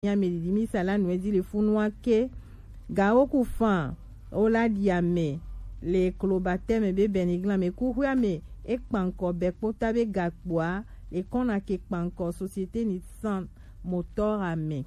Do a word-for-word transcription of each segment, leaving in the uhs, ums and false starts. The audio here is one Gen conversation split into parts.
Nya me didi mi sala nue di le funu ake. Ga oku fan o la di ame le kloba teme be beniglan me kuhwe ame e kpankɔ be kpota be gakpoa le kɔna ke kpankɔ société Nissan moteur ame.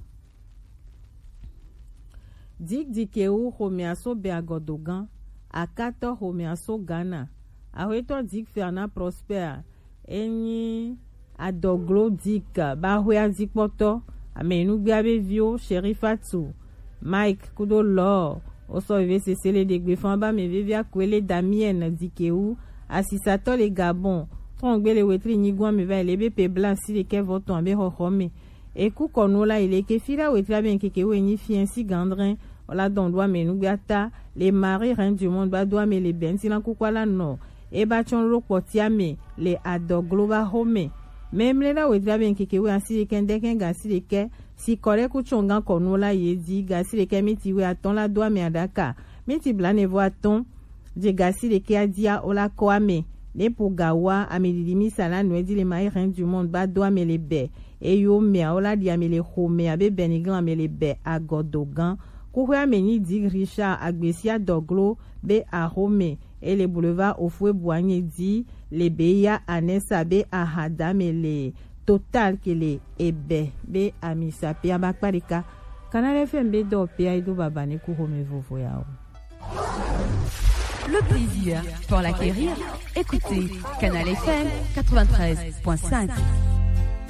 Dik dikewu xomea so be agɔdogan, akatɔ xomea so Ghana, axwetɔ Dik Fernand Prosper, enyi adɔglo Dik ba xwe azikpɔtɔ, ame nugbea be viwo, Sherifatu, Mike kudo Lɔ, osɔ veve sese le ɖegbe fan ba me vevia Kwele Damien Dikewu, asisatɔ le Gabon, trɔngbe le wetri nyigɔn me va yi le be pe blanc si le kɛ vɔtɔn abe xɔxɔ me. Eku kɔnu la yi le ke fi la wetri abe nkeke wo enyi fien si gandrin, o la dɔn do ame nugbea ta, le Marie Reine du Monde ba do ame le bɛnti na kukua la nɔ, e ba tsɔn lo kpɔtia me, le adɔglo ba xo me. Mɛmlɛ la wetri abe nkeke wo asi le kɛ ndɛkɛ ga si le kɛ, si kɔ ɖe ku tsɔn gan kɔnu la ye di, ga si le kɛ miti we atɔn la do ame aɖaka, miti blanɛ vɔ atɔn, je ga si le kɛ adia o la kɔ ame, ne po ga wa ame didi mi sa la nue di le Marie Reine du Monde ba do ame le bɛ, eyo mea o la di ame le xo me abe beniglan ame le bɛ agɔdogan. Kuxwe ame nyi di Richard Agbesia dɔglo be axo me, e le boulevard Ofue Boigny di le be ya Anessa be ahadame le Total ke le ebɛ be amisa pe aba kparika. Canal F M be dɔ pe ai do baba ne ku xome vovo ya o. Le plaisir pour l'acquérir. Écoutez Canal F M quatre-vingt-treize point cinq.